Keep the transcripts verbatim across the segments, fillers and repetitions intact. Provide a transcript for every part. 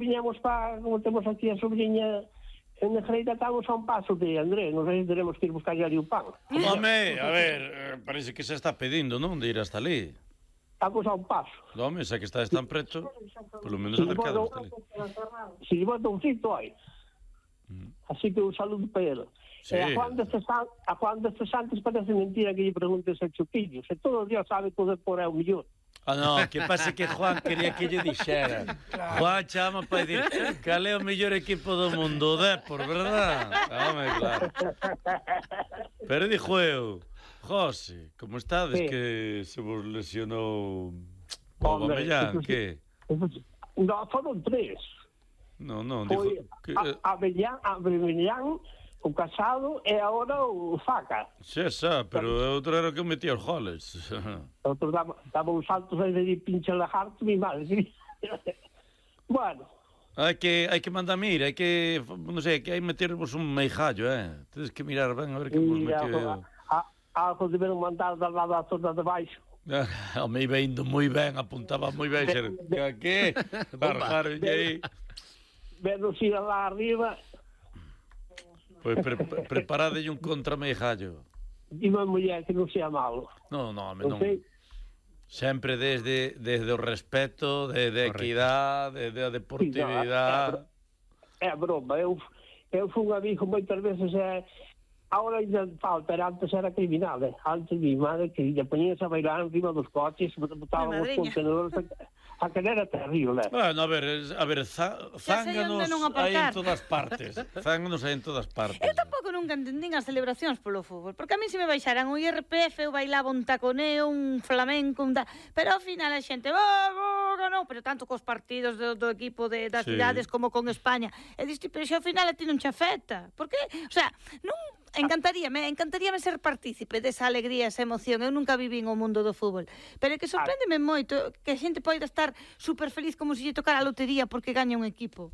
viñamos para, como temos aquí a sobrinha en Negreira, estamos a un paso de André, non sei se teremos que ir buscar ali o pan. Home, a ver, parece que se está pedindo, non, de ir hasta ali. Estamos a un paso. Home, xa que está tan preto, polo menos acercado hasta ali. Si lle bota un fito aí. Así que un saludo para ele. Sí. E a Juan destes, a Juan destes antes parece mentira que lle preguntes a Chupillo. Se todo Dios sabe poder por é o millón. Ah, no, que pasa que Juan quería que lle dixera. Claro. Juan chama para dir cal é o mellor equipo do mundo, o Depor, verdad? Home, claro. Pero dixo eu, José, como estades sí. Que se vos lesionou o Abellán, que? No, foron tres. No, no, foi dixo que... Abellán, Abellán, o Casado e agora o Faca. Xa, xa, pero outro era que metía os goles. Outro daba, daba uns saltos aí de pinche lagarto, mi madre. Bueno. Hai que, hai que mandar mir, hai que, non sei, que hai metervos un meijallo, eh? Tedes que mirar ben a ver que vos meteu. Algo deberon mandar da lado da zona de baixo. Home, iba indo moi ben, apuntaba moi ben, xer, que, barjaron aí. Venos ir lá arriba. Pois pre preparadelle un contrameijallo. Dime a muller que non sea malo. Non, non, non. Sempre desde, desde o respeto, desde a equidade, desde a deportividade. É broma, eu, eu fui un amigo moitas veces, é, agora ainda falta, era antes era criminal, eh? Antes mi madre que lle poñías a bailar encima dos coches, botaban os contenedores, a, a que era terrible. Bueno, a ver, a ver, zánganos hai en todas partes, zánganos hai en todas partes. Eu tampouco nunca entendín as celebracións polo fútbol, porque a mí se me baixaran o I R P F, eu bailaba un taconeo, un flamenco, un ta... pero ao final a xente, oh, oh, no, pero tanto cos partidos do, do equipo de, das sí. cidades como con España, e diste, pero xe ao final a ti non che afecta, porque, o sea, non... Encantaríame, encantaríame ser partícipe desa alegría, esa emoción. Eu nunca vivín o mundo do fútbol, pero é que sorpréndeme moito que a xente poida estar super feliz como se lle tocara a lotería porque gaña un equipo.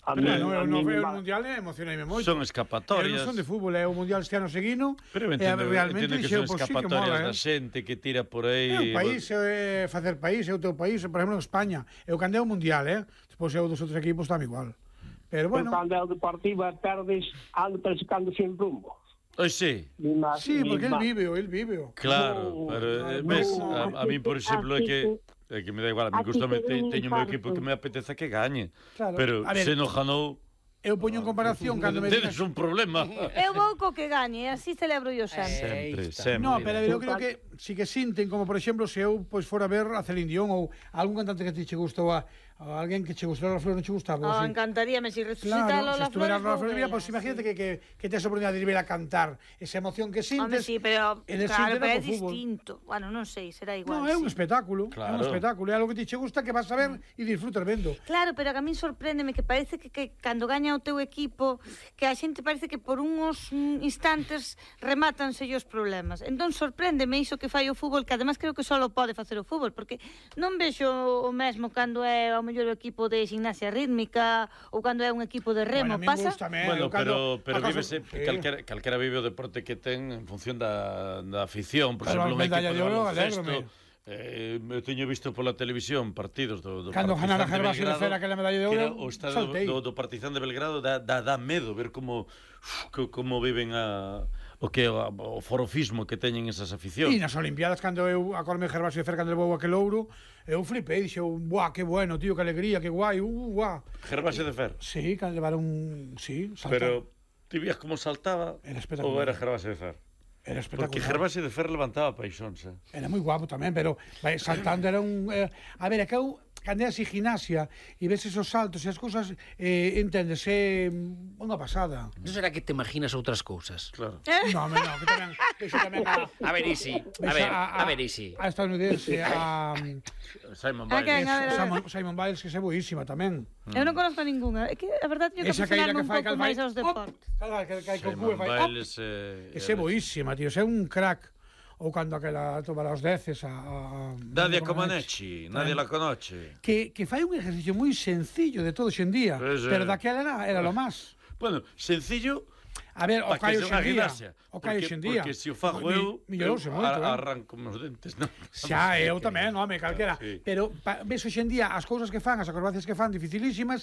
A mí, no, eu non veo o Mundial e emocionaime moito. Son escapatorias. Eu non son de fútbol, é o Mundial este ano seguino. Pero entendo, entendo que son escapatorias da xente que tira por aí. É un país, é facer país, é o teu país, por exemplo, en España. Eu cando é o Mundial, eh? Despois eu dos outros equipos tamén igual. Pero bueno, cando é o Deportivo perdes, ando persicando sin rumbo. Pois sí. Sí, porque el vive, el vive. Claro, no, pero no, ves, no, a, a mí, por exemplo, é que é que me dá igual, a mí gustame, teño o meu equipo que me apetece que gañe. Claro. Pero ver, se non ganou, eu poño en comparación cando me tedes un problema. Eu vou co que gañe, así celebro yo Sempre, sempre. sempre. No, pero eu creo que si que sinten, como por exemplo, se eu pois fora a ver a Celine Dion ou algún cantante que te che gustou a a alguén que che gustara Lola Flores non che gustaba. Oh, encantaríame si resucita claro, Lola si Flores. Flores, Flores mira, pues imagínate que, que, que te esa oportunidade de ir a cantar esa emoción que sintes. Hombre, sí, pero claro, pero é distinto. Bueno, non sei, será igual. No, é sí. un espectáculo, claro. É un espectáculo, é algo que te che gusta que vas a ver e disfrutar vendo. Claro, pero a mí sorpréndeme que parece que, que cando gaña o teu equipo, que a xente parece que por uns instantes remátanse os problemas. Entón sorpréndeme iso que fai o fútbol, que además creo que só pode facer o fútbol, porque non vexo o mesmo cando é o mellor equipo de gimnasia rítmica ou cando é un equipo de remo, bueno, pasa? Bueno, pero, pero vívese, sí. calquera, calquera vive o deporte que ten en función da, da afición, por exemplo, un equipo de baloncesto. Eh, eu teño visto pola televisión partidos do, do cando ganara Gervasio de Fer aquela medalla de ouro, o estadio do, do Partizan de Belgrado dá, dá, dá medo ver como uf, como viven a o que o, o forofismo que teñen esas aficións. E nas Olimpiadas cando eu acordome Gervasio de Fer cando levou aquel ouro, eu flipei, dixo, buah, que bueno, tío, que alegría, que guai, uh, guau. Gervasio de Fer. Sí, cando levaron, sí, saltar. Pero ti vías como saltaba era ou era Gervasio de Fer? Era espectacular. Porque Gervasio de Fer levantaba paixóns, eh? Era moi guapo tamén, pero vai, saltando era un... Eh, a ver, é que eu, cando é así gimnasia e ves esos saltos e as cousas, eh, entendes, é unha pasada. Non será que te imaginas outras cousas? Claro. No, no, que tamén... Que tamén a, a ver, isi. A ver, a, a, a ver, isi. A estadounidense, a... Simon Biles. Simon, Simon Biles, que é boísima tamén. Eu non conozco ninguna. É que a verdade é que aficionarme un pouco máis aos deportes. Simon Biles é boísima, tío, é un crack. Ou cando aquela tomara os deces a... Nadia Comaneci, nadie la conoce. Que, que fai un ejercicio moi sencillo de todo xendía, pues, pero daquela era, era lo más. Bueno, sencillo... A ver, o caio xendía. O caio xendía. Porque se o fago eu, eu arranco os dentes, non? Xa, eu tamén, home, calquera. Sí. Pero ves hoxendía as cousas que fan, as acrobacias que fan, dificilísimas,